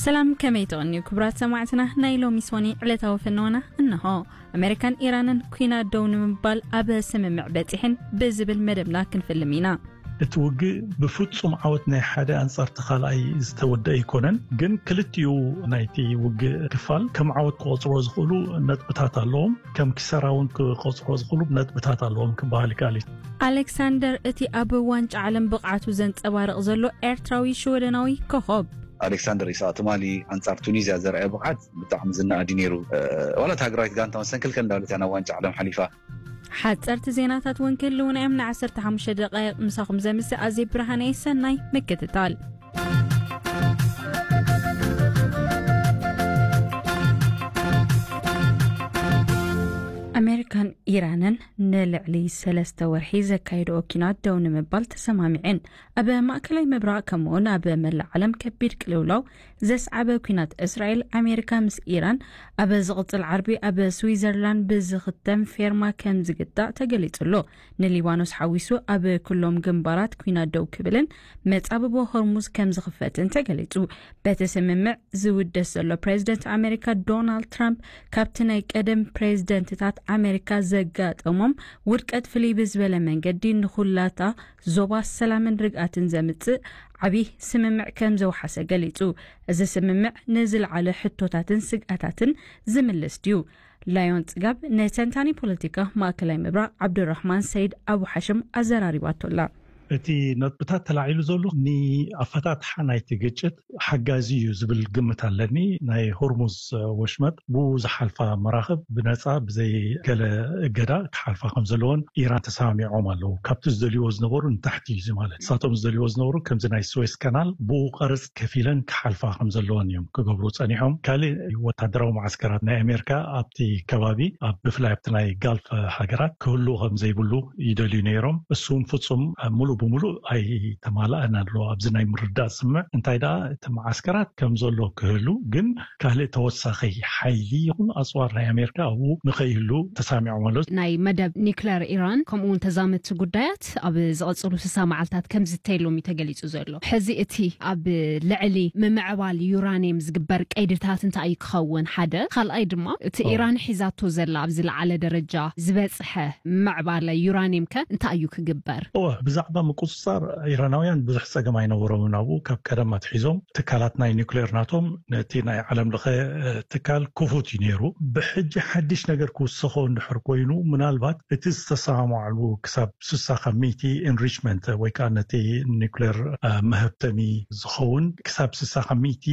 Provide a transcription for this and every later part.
ሰላም፣ ከመይ ትቕንዩ ክቡራት ሰማዕትና? ናይ ሎሚ ሶኒ ዕለታዊ ፍነወና እንሆ። ኣሜሪካን ኢራንን ኩናት ደው ንምባል ኣብ ስምምዕ በጺሕን ብዝብል መደብና ክንፍልም ኢና። እቲ ውግእ ብፍጹም ዓወት ናይ ሓደ ኣንጻርቲ ካልኣይ ዝተወደአ ኣይኮነን፣ ግን ክልቲኡ ናይቲ ውግእ ክፋል ከም ዓወት ክቖጽሮ ዝኽእሉ ነጥብታት ኣለዎም። ከም ኪሳራ እውን ክቖጽሮ ዝኽእሉ ነጥብታት ኣለዎም ክበሃል ይከኣል እዩ። ኣሌክሳንደር፣ እቲ ኣብ ዋንጫ ዓለም ብቕዓቱ ዘንጸባርቕ ዘሎ ኤርትራዊ ሽወደናዊ ኮኸብ። ኣሌክሳንደር ኢሳቅ ትማሊ ኣንጻር ቱኒዝያ ዘርኣየ ብቕዓት ብጣዕሚ ዝነኣድ እዩ ነይሩ። እ፣ ዋላ እታ ሃገራዊት ጋንታ መሰንክልከል እንዳበለት እያ ናብ ዋንጫ ዓለም ሓሊፋ። ሓጸርቲ ዜናታት እውን ክህልውና እዮም። ን15 ደቃይቕ ምሳኹም ዘምስእ ኣዜብ ብርሃነ። ሰናይ ምክትታል። ኣሜሪካን ኢራንን ንልዕሊ ሰለስተ ወርሒ ዘካየድኦ ኪናት ደው ንምባል ተሰማሚዐን። ኣብ ማእከላይ ምብራቕ ከምኡውን ኣብ መላእ ዓለም ከቢድ ቅልውላው ዘስዓበ ኲናት እስራኤል ኣሜሪካ ምስ ኢራን ኣብ ዝቕጽል ዓርቢ ኣብ ስዊዘርላንድ ብዝኽተም ፌርማ ከም ዝግታእ ተገሊጹ ኣሎ። ንሊባኖስ ሓዊሱ ኣብ ኩሎም ግንባራት ኲናት ደው ክብልን መጻብቦ ሆርሙዝ ከም ዝኽፈትን ተገሊጹ። በቲ ስምምዕ ዝውደስ ዘሎ ፕሬዚደንት ኣሜሪካ ዶናልድ ትራምፕ ካብቲ ናይ ቀደም ፕሬዚደንትታት ኣሜሪካ ዘጋጠሞም ውድቀት ፍልይ ብዝበለ መንገዲ ንኹላታ ዞባ ሰላምን ርግኣትን ዘምጽእ ዓብዪ ስምምዕ ከም ዘውሓሰ ገሊጹ። እዚ ስምምዕ ንዝለዓለ ሕቶታትን ስግኣታትን ዝምልስ ድዩ? ላዮን ጽጋብ ንተንታኒ ፖለቲካ ማእከላይ ምብራቕ ዓብዱራህማን ሰይድ ኣቡ ሓሽም ኣዘራሪባቶ ኣላ። እቲ ነጥብታት ተላዒሉ ዘሎ ንኣፈታትሓ ናይቲ ግጭት ሓጋዚ እዩ ዝብል ግምት ኣለኒ። ናይ ሆርሙዝ ወሽመጥ ብኡ ዝሓልፋ መራኽብ ብነጻ ብዘይ ገለ እገዳ ክሓልፋ ከም ዘለዎን ኢራን ተሰማሚዖም ኣለዉ። ካብቲ ዝደልይዎ ዝነበሩ ንታሕቲ እዩ እዚ ማለት። ንሳቶም ዝደልይዎ ዝነበሩ ከምዚ ናይ ስዌስ ካናል ብኡ ቀረጽ ከፊለን ክሓልፋ ከም ዘለዎን እዮም ክገብሩ ጸኒሖም። ካልእ ወታደራዊ መዓስከራት ናይ ኣሜሪካ ኣብቲ ከባቢ ኣብ ብፍላይ ኣብቲ ናይ ጋልፍ ሃገራት ክህሉ ከም ዘይብሉ ይደልዩ ነይሮም። እሱም ፍጹም ሙሉእ ብሙሉእ ኣይተማልኣን ኣሎ ኣብዚ ናይ ምርዳእ ስምምዕ። እንታይ ደኣ እቲ መዓስከራት ከም ዘሎ ክህሉ ግን ካልእ ተወሳኺ ሓይሊ ይኹን ኣጽዋር ናይ ኣሜሪካ ኣብኡ ንኸይህሉ ተሳሚዖም ኣለዉ። ናይ መደብ ኒክለር ኢራን ከምኡ እውን ተዛመድቲ ጉዳያት ኣብ ዝቐጽሉ ስሳ መዓልታት ከም ዝተየሎም እዩ ተገሊጹ ዘሎ። ሕዚ እቲ ኣብ ልዕሊ ምምዕባል ዩራኒየም ዝግበር ቀይድታት እንታይ እዩ ክኸውን? ሓደ። ካልኣይ ድማ እቲ እዎ። ኢራን ሒዛቶ ዘላ ኣብ ዝለዓለ ደረጃ ዝበጽሐ ምዕባለ ዩራኒየም ከ እንታይ እዩ ክግበር? እወ፣ ብዛዕባ ምቁጽጻር ኢራናውያን ብዙሕ ጸገም ኣይነበሮምን። ኣብኡ ካብ ቀደም ኣትሒዞም ትካላት ናይ ኒውክሌር ናቶም ነቲ ናይ ዓለም ለኸ፣ እ፣ ትካል ክፉት እዩ ነይሩ። ብሕጂ ሓድሽ ነገር ክውሰኾ እንድሕር ኮይኑ፣ ምናልባት እቲ ዝተሰማማዕሉ ክሳብ ስሳ ካብ ሚእቲ ኢንሪችመንት ወይ ከዓ ነቲ ኒውክሌር፣ እ፣ መሀብተሚ ዝኸውን ክሳብ ስሳ ካብ ሚእቲ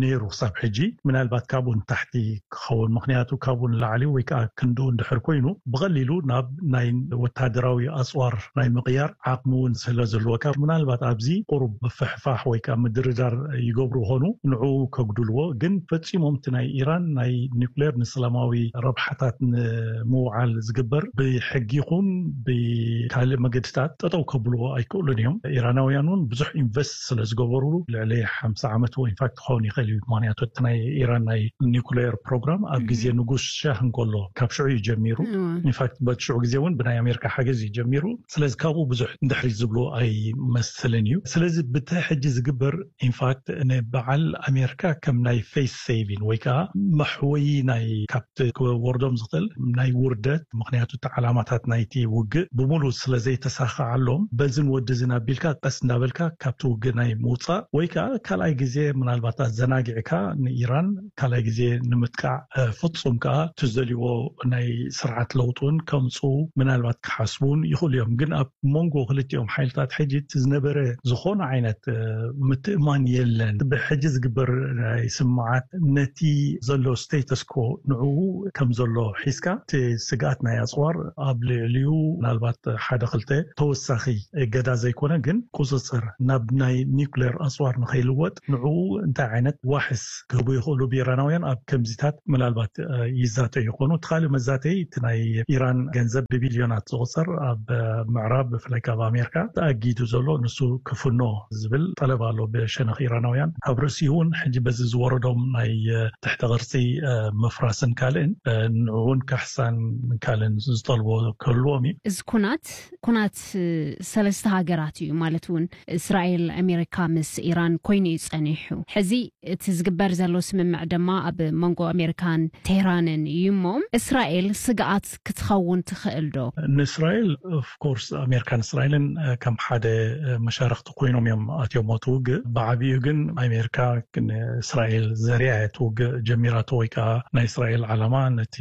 ነይሩ ክሳብ ሕጂ። ምናልባት ካብኡ ንታሕቲ ክኸውን፣ ምኽንያቱ ካብኡ ንላዕሊ ወይ ከዓ ክንድኡ እንድሕር ኮይኑ፣ ብቐሊሉ ናብ ናይ ወታደራዊ ኣጽዋር ናይ ምቕያር ዓቕሚ እውን ስለ ዘለዎ፣ ካብ ምናልባት ኣብዚ ቁሩብ ምፍሕፋሕ ወይ ከዓ ምድርዳር ይገብሩ ኾኑ፣ ንዕኡ ከጉድልዎ። ግን ፈጺሞም እቲ ናይ ኢራን ናይ ኒውክሌር ንሰላማዊ ረብሓታት ንምውዓል ዝግበር ብሕጊ ይኹን ብካልእ መገድታት ጠጠው ከብልዎ ኣይክእሉን እዮም። ኢራናውያን እውን ብዙሕ ኢንቨስት ስለ ዝገበሩ፣ ልዕሊ ሓምሳ ዓመት እውን ኢንፋክት ክኸውን ይኽእል እዩ። ምኽንያቱ እቲ ናይ ኢራን ናይ ኒውክሌር ፕሮግራም ኣብ ግዜ ንጉስ ሻህ እንከሎ ካብ ሽዑ እዩ ጀሚሩ። እዋ። ኢንፋክት በቲ ሽዑ ግዜ እውን ብናይ ኣሜሪካ ሓገዝ እዩ ጀሚሩ። ስለዚ ካብኡ ብዙሕ እንድሕሪት ዝብሉ ኣይመስልን እዩ። ስለዚ ብቲ ሕጂ ዝግበር ኢንፋክት ንበዓል ኣሜሪካ ከም ናይ ፌስ ሴቪን ወይ ከዓ መሕወዪ ናይ ካብቲ ክወርዶም ዝኽእል ናይ ውርደት፣ ምኽንያቱ እቲ ዓላማታት ናይቲ ውግእ ብምሉእ ስለ ዘይተሳኻዓሎም በዝን ወድዝን ኣቢልካ ቀስ እንዳበልካ ካብቲ ውግእ ናይ ምውፃእ ወይ ከዓ ካልኣይ ግዜ ምናልባት ኣዘናጊዕካ ንኢራን ካልኣይ ግዜ ንምጥቃዕ፣ እ፣ ፍጹም ከዓ እቲ ዝደልይዎ ናይ ስርዓት ለውጢ እውን ከምፅኡ ምናልባት ክሓስቡ እውን ይኽእሉ እዮም። ግን ኣብ መንጎ ክልቲኦም ሓይልታት ሕጂ እቲ ዝነበረ ዝኾነ ዓይነት፣ እ፣ ምትእማን የለን። ብሕጂ ዝግበር ናይ ስምምዓት ነቲ ዘሎ ስቴተስ ኮ ንዕኡ ከም ዘሎ ሒዝካ እቲ ስግኣት ናይ ኣጽዋር ኣብ ልዕሊኡ ምናልባት ሓደ ክልተ ተወሳኺ እገዳ ዘይኮነ ግን ቁጽጽር ናብ ናይ ኒውክሌር ኣጽዋር ንኸይልወጥ ንዕኡ እንታይ ዓይነት ዋሕስ ክህቡ ይኽእሉ ብኢራናውያን ኣብ ከምዚታት ምናልባት፣ እ፣ ይዛተዩ ይኾኑ። እቲ ካልእ መዛተይ እቲ ናይ ኢራን ገንዘብ ብቢልዮናት ዝቑጸር ኣብ፣ እ፣ ምዕራብ ብፍላይ ካብ ኣሜሪካ ተኣጊዱ ዘሎ ንሱ ክፍኖ ዝብል ጠለብ ኣሎ ብሸነኽ ኢራናውያን። ኣብ ርእሲኡ እውን ሕጂ በዚ ዝወረዶም ናይ ትሕተ ቅርጺ ምፍራስን ካልእን ንዕውን ካሕሳን ካልእን ዝጠልቦ ክህልዎም እዩ። እዚ ኩናት ኩናት ሰለስተ ሃገራት እዩ፣ ማለት እውን እስራኤል፣ ኣሜሪካ ምስ ኢራን ኮይኑ እዩ ጸኒሑ። ሕዚ እቲ ዝግበር ዘሎ ስምምዕ ድማ ኣብ መንጎ ኣሜሪካን ቴህራንን እዩ። እሞ እስራኤል ስግኣት ክትኸውን ትኽእል ዶ? ንእስራኤል ኦፍኮርስ ኣሜሪካን እስራኤልን ከም ሓደ መሻርክቲ ኮይኖም እዮም ኣትዮም እቲ ውግእ። ብዓቢኡ ግን ኣሜሪካ ንእስራኤል ዘሪኣ እቲ ውግእ ጀሚራቶ ወይ ከዓ ናይ እስራኤል ዓላማ ነቲ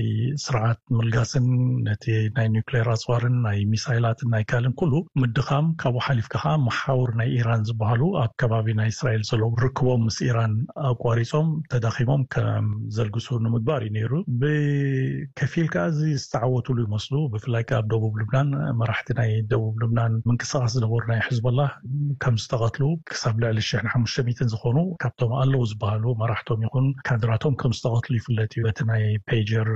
ስርዓት ምልጋስን ነቲ ናይ ኒውክሌር ኣፅዋርን ናይ ሚሳይላትን ናይ ካልእን ኩሉ ምድኻም፣ ካብኡ ሓሊፍካ ከዓ መሓውር ናይ ኢራን ዝበሃሉ ኣብ ከባቢ ናይ እስራኤል ዘለዉ ርክቦም ምስ ኢራን ኣቋሪፆም ተዳኺሞም ከም ዘልግሱ ንምግባር እዩ ነይሩ። ብከፊል ከዓ እዚ ዝተዓወትሉ ይመስሉ። ብፍላይ ከዓ ኣብ ደቡብ ልብናን መራሕቲ ናይ ደቡብ ልብናን ምንቅስቃስ ዝነበሩ ናይ ሕዝቦላ ከም ዝተቐትሉ፣ ክሳብ ልዕሊ ሽሕን ሓሙሽተ ሚእትን ዝኾኑ ካብቶም ኣለዉ ዝበሃሉ መራሕቶም ይኹን ካድራቶም ከም ዝተቐትሉ ይፍለጥ እዩ። በቲ ናይ ፔጀር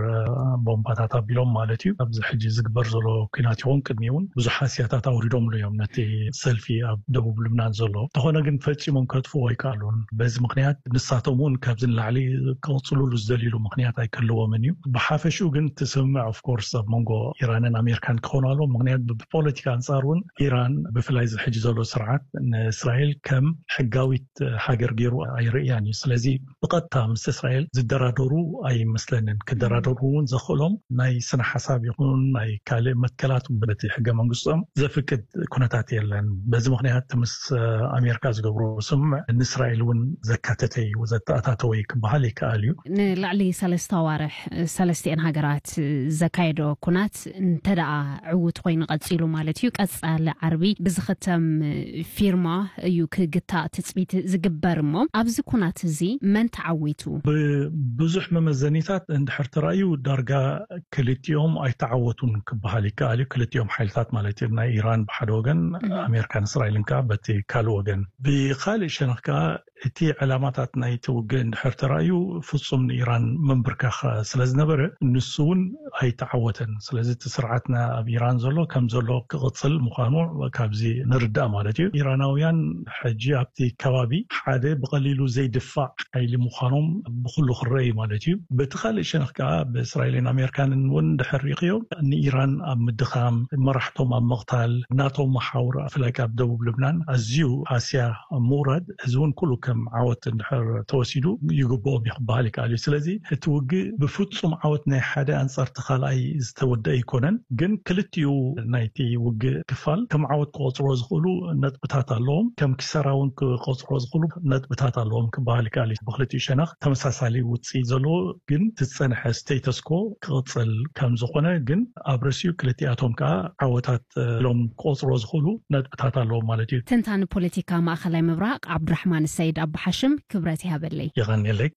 ቦምባታት ኣቢሎም ማለት እዩ። ኣብዚ ሕጂ ዝግበር ዘሎ ኩናት ይኹን ቅድሚ እውን ብዙሕ ሃስያታት ኣውሪዶምሉ እዮም ነቲ ሰልፊ ኣብ ደቡብ ልብናን ዘሎ። እንተኾነ ግን ፈጺሞም ከጥፍዎ ኣይከኣሉን። በዚ ምክንያት ንሳቶም እውን ካብዚ ንላዕሊ ክቕፅሉሉ ዝደልዩሉ ምክንያት ኣይክህልዎምን እዩ። ብሓፈሽኡ ግን እቲ ስምምዕ ኦፍኮርስ ኣብ መንጎ ኢራንን ኣሜሪካን ክኾኑ ኣለዎ። ምክንያት ብፖለቲካ ኣንፃር እውን ኢራን ብፍላይ እዚ ሕጂ ዘሎ ስርዓት ንእስራኤል ከም ሕጋዊት ሃገር ገይሩ ኣይርእያን እዩ። ስለዚ ብቐጥታ ምስ እስራኤል ዝደራደሩ ኣይመስለንን። ክደራደሩ እውን ዘኽእሎም ናይ ስነ ሓሳብ ይኹን ናይ ካልእ መትከላት በቲ ሕገ መንግስቶም ዘፍቅድ ኩነታት የለን። በዚ ምክንያት ምስ ኣሜሪካ ዝገብሮ ስምምዕ ንእስራኤል እውን ዘካተተ እዩ፣ ዘተኣታተወ እዩ ክበሃል ይከኣል እዩ። ንላዕሊ ሰለስተ ኣዋርሕ ሰለስቲኤን ሃገራት ዘካየዶ ኩናት እንተ ደኣ ዕዉት ኮይኑ ቀጺሉ ማለት እዩ፣ ቀጻሊ ዓርቢ ብዝኽተም ፊርማ እዩ ክግታእ ትጽቢት ዝግበር። እሞ ኣብዚ ኩናት እዚ መን ተዓዊቱ? ብብዙሕ መመዘኒታት እንድሕር ተራእዩ ዳርጋ ክልቲኦም ኣይተዓወቱን ክበሃል ይከኣል እዩ። ክልቲኦም ሓይልታት ማለት እዩ፣ ናይ ኢራን ብሓደ ወገን፣ ኣሜሪካን እስራኤልን ከዓ በቲ ካልእ ወገን። ብኻልእ ሸነኽ ከዓ እቲ ዕላማታት ናይቲ ውግእ እንድሕር ተራእዩ ፍጹም ንኢራን ምንብርካኽ ስለ ዝነበረ ንሱ እውን ኣይተዓወተን። ስለዚ እቲ ስርዓትና ኣብ ኢራን ዘሎ ከም ዘሎ ክቕጽል ምዃኑ ካብዚ ንርዳእ ማለት እዩ። ኢራናውያን ሕጂ ኣብቲ ከባቢ ሓደ ብቐሊሉ ዘይድፋዕ ሓይሊ ምዃኖም ብኹሉ ክረአ እዩ ማለት እዩ። በቲ ካልእ ሸነኽ ከዓ ብእስራኤልን ኣሜሪካንን እውን እንድሕር ሪእኽዮ ንኢራን ኣብ ምድኻም፣ መራሕቶም ኣብ ምቕታል፣ ናቶም መሓውር ብፍላይ ኣብ ደቡብ ልብናን ኣዝዩ ሃስያ ምውራድ እዚ እውን ኩሉ ከም ዓወት እንድሕር ተወሲዱ ይግብኦም እዩ ክበሃል ይከኣል እዩ። ስለዚ እቲ ውግእ ብፍጹም ዓወት ናይ ሓደ ኣንጻርቲ ካልኣይ ዝተወደአ ኣይኮነን፣ ግን ክልቲኡ ናይቲ ውግእ ክፋል ከም ዓወት ክቆጽሮ ዝኽእሉ ነጥብታት ኣለዎም፣ ከም ኪሳራ እውን ክቆጽሮ ዝኽእሉ ነጥብታት ኣለዎም ክበሃል ይከኣል እዩ። ብክልቲኡ ሸነኽ ተመሳሳሊ ውጽኢት ዘለዎ ግን ዝጸንሐ ስቴተስኮ ክቕጽል ከም ዝኾነ ግን ኣብ ርእሲኡ ክልቲኣቶም ከዓ ዓወታት ኢሎም ክቆጽሮ ዝኽእሉ ነጥብታት ኣለዎም ማለት እዩ። ተንታኒ ፖለቲካ ማእኸላይ ምብራቕ ዓብዱራሕማን ሰይድ ኣቡሓሽም ክብረት ይሃበለይ። የቐንየለይ።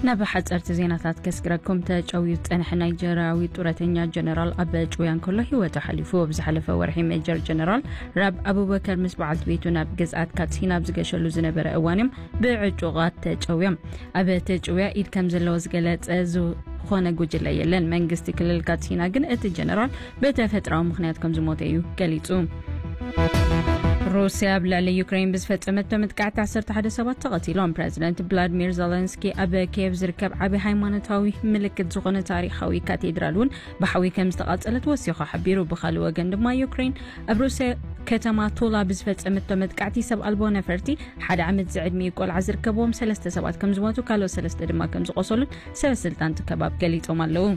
ናብ ሓፀርቲ ዜናታት ከስግረኩም። ተጨውዩ ዝፀንሐ ናይጀርያዊ ጡረተኛ ጀነራል ኣብ ጭውያ እንከሎ ህይወቱ ሓሊፉ። ኣብ ዝሓለፈ ወርሒ ሜጀር ጀነራል ራብ ኣቡበከር ምስ በዓልቲ ቤቱ ናብ ግዝኣት ካትሲና ኣብ ዝገሸሉ ዝነበረ እዋን እዮም ብዕጡቓት ተጨውዮም። ኣብ ተጭውያ ኢድ ከም ዘለዎ ዝገለጸ ዝኾነ ጉጅለ የለን። መንግስቲ ክልል ካትሲና ግን እቲ ጀነራል ብተፈጥራዊ ምኽንያት ከም ዝሞተ እዩ ገሊጹ። ሩስያ ኣብ ልዕሊ ዩክሬን ብዝፈጸመቶ መጥቃዕቲ ዓሰርተ ሓደ ሰባት ተቐቲሎም። ፕረዚደንት ቭላድሚር ዘለንስኪ ኣብ ኪየቭ ዝርከብ ዓቢ ሃይማኖታዊ ምልክት ዝኾነ ታሪኻዊ ካቴድራል እውን ብሓዊ ከም ዝተቓጸለት ወሲኹ ሓቢሩ። ብኻልእ ወገን ድማ ዩክሬን ኣብ ሩስያ ከተማ ቱላ ብዝፈጸመቶ መጥቃዕቲ ሰብ ኣልቦ ነፈርቲ ሓደ ዓመት ዝዕድሚኡ ቆልዓ ዝርከብዎም ሰለስተ ሰባት ከም ዝሞቱ ካልኦት ሰለስተ ድማ ከም ዝቖሰሉን ሰበ ስልጣን እቲ ከባቢ ገሊጾም ኣለዉ።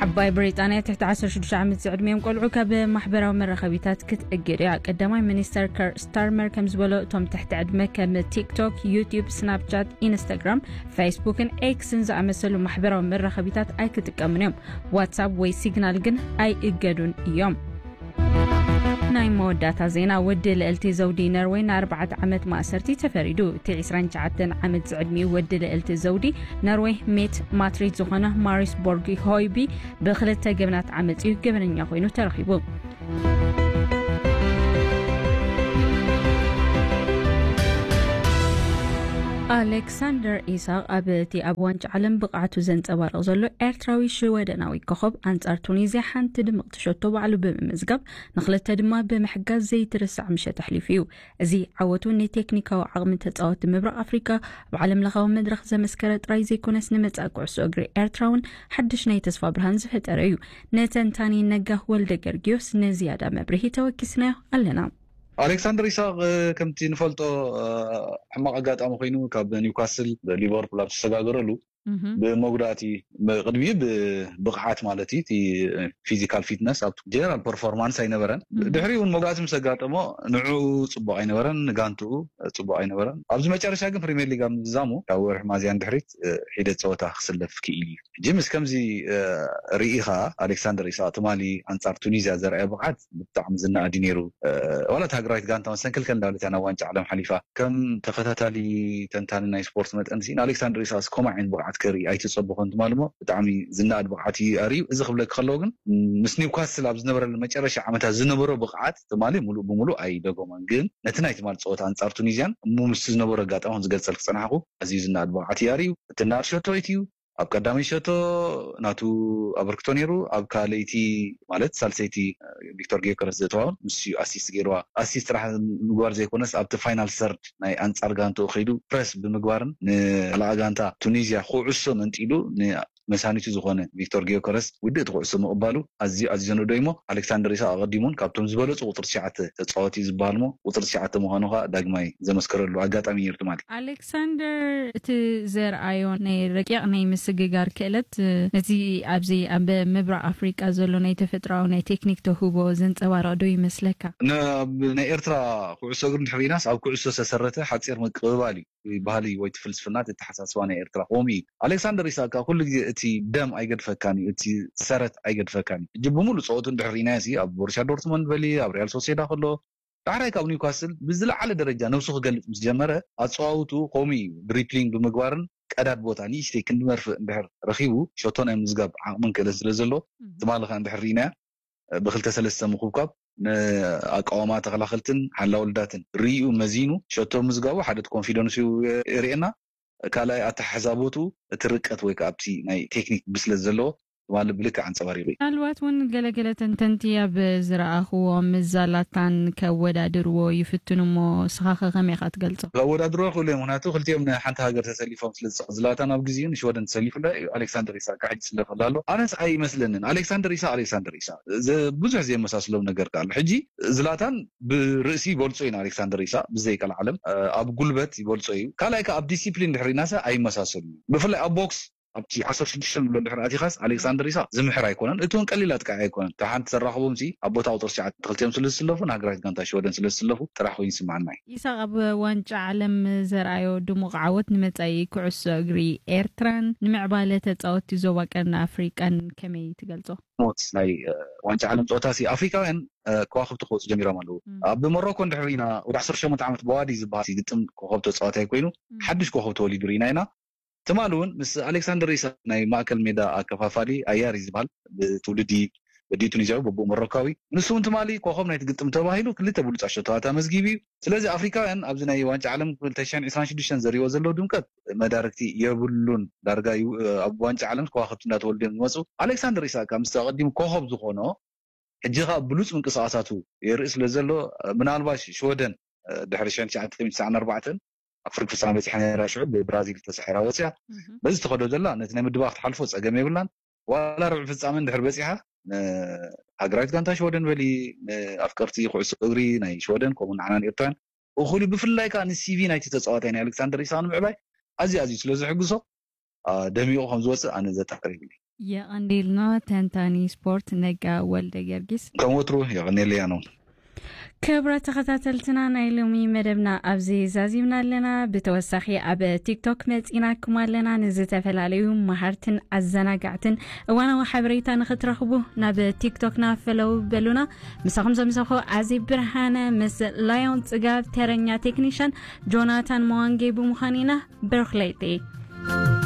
ዓባይ ብሪጣንያ ትሕቲ ዓሰርተ ሽዱሽተ ዓመት ዝዕድሚኦም ቆልዑ ካብ ማሕበራዊ መራኸቢታት ክትእግድ እያ። ቀዳማይ ሚኒስተር ከር ስታርመር ከም ዝበሎ እቶም ትሕቲ ዕድመ ከም ቲክቶክ፣ ዩቲዩብ፣ ስናፕቻት፣ ኢንስታግራም፣ ፌስቡክን ኤክስን ዝኣመሰሉ ማሕበራዊ መራኸቢታት ኣይክጥቀሙን እዮም። ዋትሳፕ ወይ ሲግናል ግን ኣይእገዱን እዮም። ናይ መወዳእታ ዜና። ወዲ ልዕልቲ ዘውዲ ነርወይ ንኣርባዕተ ዓመት ማእሰርቲ ተፈሪዱ። እቲ ዕስራን ትሽዓተን ዓመት ዝዕድሚኡ ወዲ ልዕልቲ ዘውዲ ነርወይ ሜት ማትሪት ዝኾነ ማሪስ ቦርግ ሆይቢ ብክልተ ገበናት ዓመፅ እዩ ገበነኛ ኮይኑ ተረኺቡ። ኣሌክሳንደር ኢሳቕ ኣብ እቲ ኣብ ዋንጫ ዓለም ብቕዓቱ ዘንጸባርቕ ዘሎ ኤርትራዊ ሽወደናዊ ኮኸብ ኣንጻር ቱኒዝያ ሓንቲ ድምቕቲ ሸቶ ባዕሉ ብምምዝጋብ ንኽልተ ድማ ብምሕጋዝ ዘይትርሳዕ ምሸት ኣሕሊፉ እዩ። እዚ ዓወቱ ንቴክኒካዊ ዓቕሚ ተጻወቲ ምብራቕ ኣፍሪቃ ኣብ ዓለም ለኻዊ መድረኽ ዘመስከረ ጥራይ ዘይኮነስ ንመጻኢ ኩዕሶ እግሪ ኤርትራ እውን ሓድሽ ናይ ተስፋ ብርሃን ዝፈጠረ እዩ። ንተንታኒ ነጋህ ወልደ ገርጊዮስ ንዝያዳ መብርሂ ተወኪስናዮ ኣለና። ኣሌክሳንደር ኢሳቕ ከምቲ ንፈልጦ ሕማቕ ኣጋጣሚ ኮይኑ ካብ ኒውካስል ሊቨርፑል ኣብ ዝሰጋገረሉ ብመጉዳእቲ ቅድሚኡ ብብቕዓት ማለት እዩ እቲ ፊዚካል ፊትነስ ኣብ ጀነራል ፐርፎርማንስ ኣይነበረን። ድሕሪኡ እውን መጉዳእቲ ምስ ኣጋጠሞ ንዕኡ ፅቡቕ ኣይነበረን፣ ንጋንትኡ ፅቡቕ ኣይነበረን። ኣብዚ መጨረሻ ግን ፕሪሚየር ሊግ ኣብ ምዝዛሙ ካብ ወርሒ ሚያዝያ ድሕሪት ሒደት ፀወታ ክስለፍ ክኢል እዩ። ሕጂ ምስ ከምዚ ርኢኻ ኣሌክሳንደር ኢሳቕ ትማሊ ኣንጻር ቱኒዝያ ዘርኣዮ ብቕዓት ብጣዕሚ ዝነኣድ እዩ ነይሩ። ዋላ እቲ ሃገራዊት ጋንታ መሰንክልከል እንዳበለት እያ ናብ ዋንጫ ዓለም ሓሊፋ። ከም ተኸታታሊ ተንታኒ ናይ ስፖርት መጠን ሲ ንኣሌክሳንደር ኢሳቅስ ከምኡ ዓይነት ብቕዓት ከርኢ ኣይተጸበኹን። ትማሊ እሞ ብጣዕሚ ዝነኣድ ብቕዓት እዩ ኣርእዩ። እዚ ክብለኪ ከለዎ ግን ምስ ኒውካስል ኣብ ዝነበረሉ መጨረሻ ዓመታት ዝነበሮ ብቕዓት ትማሊ ሙሉእ ብሙሉእ ኣይደገሞን። ግን ነቲ ናይ ትማሊ ጸወታ ኣንጻር ቱኒዝያን እሞ ምስቲ ዝነበሮ ኣጋጣሚ ከም ዝገልጸልኪ ዝጸናሕኩ ኣዝዩ ዝነኣድ ብቕዓት እዩ ኣርእዩ። እቲ ናር ሸቶ እዩ ኣብ ቀዳመይ ሸቶ ናቱ ኣበርክቶ ነይሩ። ኣብ ካልኣይቲ ማለት ሳልሰይቲ ቪክቶር ጌዮከረስ ዘእተዋውን ምስ ኣሲስት ገይርዋ። ኣሲስት ጥራሕ ምግባር ዘይኮነስ ኣብቲ ፋይናል ሰርድ ናይ ኣንጻር ጋንትኡ ከይዱ ፕረስ ብምግባርን ንላኣ ጋንታ ቱኒዝያ ኩዕሶ መንጢሉ ንመሳኒቱ ዝኾነ ቪክቶር ጌዮከረስ ውድእቲ ኩዕሶ ምቕባሉ ኣዝዩ ኣዝዩ ዘነዶ እሞ ኣሌክሳንደር ኢሳቅ ኣቐዲሙን ካብቶም ዝበለጹ ቁፅሪ ትሽዓተ ተጻወቲ ዝበሃል እሞ ቁፅሪ ትሽዓተ ምዃኑ ከዓ ዳግማይ ዘመስከረሉ ኣጋጣሚ ነይሩ ትማሊ። ኣሌክሳንደር እቲ ዘርኣዮ ናይ ረቂቕ ናይ ምስግጋር ክእለት ነዚ ኣብዚ ኣብ ምብራቕ ኣፍሪቃ ዘሎ ናይ ተፈጥሮኣዊ ናይ ቴክኒክ ተውህቦ ዘንጸባርቕ ዶ ይመስለካ? ኣብ ናይ ኤርትራ ኩዕሶ እግሪ እንድሕር ርኢናስ ኣብ ኩዕሶ ዝተሰረተ ሓፂር ምቅብባል እዩ ባህሊ ወይ እቲ ፍልስፍና እቲ ኣተሓሳስባ ናይ ኤርትራ ከምኡ እዩ። ኣሌክሳንደር ኢሳቅ ኩሉ ግዜ እቲ ደም ኣይገድፈካን እዩ፣ እቲ ሰረት ኣይገድፈካን እዩ። ሕጂ ብምሉእ ፀወቱ እንድሕር ርኢናዮ ሲ ኣብ ቦሩሲያ ዶርትመንድ በሊ ኣብ ሪያል ሶሴዳ ከሎ ዳሕራይ ካብ ኒውካስል ብዝለዓለ ደረጃ ነብሱ ክገልጽ ምስ ጀመረ ኣጸዋውትኡ ከምኡ እዩ። ድሪፕሊንግ ብምግባርን ቀዳድ ቦታ ንእሽተይ ክንዲ መርፍእ እንድሕር ረኺቡ ሸቶ ናይ ምዝጋብ ዓቕምን ክእለት ስለ ዘሎ ትማሊ ከኣ እንድሕር ርኢናያ ብክልተ ሰለስተ ምኩብኳብ ንኣቃውማ ተኸላኸልትን ሓላ ወልዳትን ርኢኡ መዚኑ ሸቶ ምዝጋቡ ሓደ ኮንፊደንስ እዩ የርእየና። ካልኣይ ኣተሓሕዛ ቦትኡ እቲ ርቀት ወይ ከዓ ኣብቲ ናይ ቴክኒክ ብስለት ዘለዎ ትማሊ ብልክዕ ኣንጸባሪቑ እዩ። ምናልባት እውን ገለገለ ተንተንቲ ኣብ ዝረኣኽዎ ምስ ዛላታን ከወዳድርዎ ይፍትኑ እሞ ንስኻ ከ ከመይ ኢኻ ትገልጾ? ከወዳድርዎ ክእሉ እዮም፣ ምክንያቱ ክልቲኦም ንሓንቲ ሃገር ተሰሊፎም ስለ ዝጻወቱ፣ ዝላታን ኣብ ግዜኡ ንሽወደን ተሰሊፉ ኣሎ እዩ፣ ኣሌክሳንደር ኢሳቅ ሕጂ ይስለፍ ኣሎ ኣሎ። ኣነስ ኣይመስለንን። ኣሌክሳንደር ኢሳቅ ኣሌክሳንደር ኢሳቅ ዘ- ብዙሕ ዘየመሳስሎም ነገር ኣሎ። ሕጂ ዝላታን ብርእሲ ይበልጾ እዩ ንኣሌክሳንደር ኢሳቅ ብዘይ ቀልዓለም ኣብ ጉልበት ይበልጾ እዩ። ካልኣይ ከ ኣብ ዲሲፕሊን ድሕሪናሰ ኣይመሳሰሉ። ብፍላይ ኣብ ቦክስ ኣብቲ ዓሰርተ ሽዱሽተ ንብሎ ድሕሪ ኣቲኻስ ኣሌክሳንደር ኢሳቅ ዝምሕር ኣይኮነን። እቲ እውን ቀሊል ኣጥቃዒ ኣይኮነን። ካብ ሓንቲ ተራኽቦም ሲ ኣብ ቦታ ቁፅሪ ትሽዓተ ክልቲኦም ስለ ዝስለፉ ንሃገራዊት ጋንታ ሽወደን ስለ ዝስለፉ ጥራሕ ኮይኑ ይስማዓና እዩ። ኢሳቅ ኣብ ዋንጫ ዓለም ዘርኣዮ ድሙቕ ዓወት ንመጻኢ ኩዕሶ እግሪ ኤርትራን ንምዕባለ ተጻወቲ ዞባ ቀርኒ ኣፍሪቃን ከመይ ትገልጾ? ሞት ናይ ዋንጫ ዓለም ፀወታ ሲ ኣፍሪካውያን ከዋክብቲ ክወፁ ጀሚሮም ኣለዉ። ኣብ ሞሮኮ እንድሕር ኢና ወደ ዓሰርተ ሸሞንተ ዓመት በዋዲ ዝበሃል ግጥም ኮኸብ ተፃዋታይ ኮይኑ ሓድሽ ኮኸብ ተወሊዱ ርኢና ኢና። ትማሊ እውን ምስ ኣሌክሳንደር ኢሳቅ ናይ ማእከል ሜዳ ኣከፋፋሊ ኣያሪ ዝበሃል ብትውልዲ ወዲ ቱኒዝያዊ በቦ ሞሮካዊ ንሱ እውን ትማሊ ኮኸብ ናይቲ ግጥም ተባሂሉ ክልተ ብሉፃት ሸቶታት ኣመዝጊቡ እዩ። ስለዚ ኣፍሪካውያን ኣብዚ ናይ ዋንጫ ዓለም ክልተ ሽሕን ዕስራን ሽዱሽተን ዘርእዎ ዘለዉ ድምቀት መዳርግቲ የብሉን። ዳርጋ ኣብ ዋንጫ ዓለም ከዋክብቲ እንዳተወልዱ እዮም ዝመፁ። ኣሌክሳንደር ኢሳቅ ምስ ኣቐዲሙ ኮኸብ ዝኾኖ ሕጂ ከዓ ብሉፅ ምንቅስቃሳቱ የርኢ ስለ ዘሎ ምናልባሽ ሽወደን ድሕሪ ሽሕን ትሽዓተ ሚእትን ትስዓን ኣርባዕተን ኣብ ፍርቂ ፍፃመ በፂሓ ነራ ሽዑ ብብራዚል ተሳሒራ ወፅያ በዚ ተኸዶ ዘላ ነቲ ናይ ምድባኽ ትሓልፎ ፀገም የብላን። ዋላ ርብዒ ፍፃመ እንድሕር በፂሓ ሃገራዊት ጋንታ ሽወደን በሊ ኣፍቀርቲ ኩዕሶ እግሪ ናይ ሽወደን ከምኡ ንዓናን ኤርትራን እኹል ብፍላይ ከዓ ንሲቪ ናይቲ ተፃዋታይ ናይ ኣሌክሳንደር ኢሳቅ ንምዕባይ ኣዝዩ ኣዝዩ ስለ ዝሕግዞ ደሚቑ ከም ዝወፅእ ኣነ ዘጠራጥር የብለይ። የቐንዴልና ተንታኒ ስፖርት ነጋ ወልደ ገርጊስ። ከም ወትሩ የቐንየለያ ነው። ክብረ ተኸታተልትና ናይ ሎሚ መደብና ኣብዚ ዛዚምና ኣለና። ብተወሳኺ ኣብ ቲክቶክ መፂናኩም ኣለና። ንዝተፈላለዩ መሃርትን ኣዘናጋዕትን እዋናዊ ሓበሬታ ንኽትረኽቡ ናብ ቲክቶክና ፈለው በሉና። ምሳኹም ዘምሰኹ ኣዚ ብርሃነ ምስ ላዮን ፅጋብ ተረኛ ቴክኒሻን ጆናታን መዋንጌ ብምዃን ኢና። ብሩኽ ለይቲ።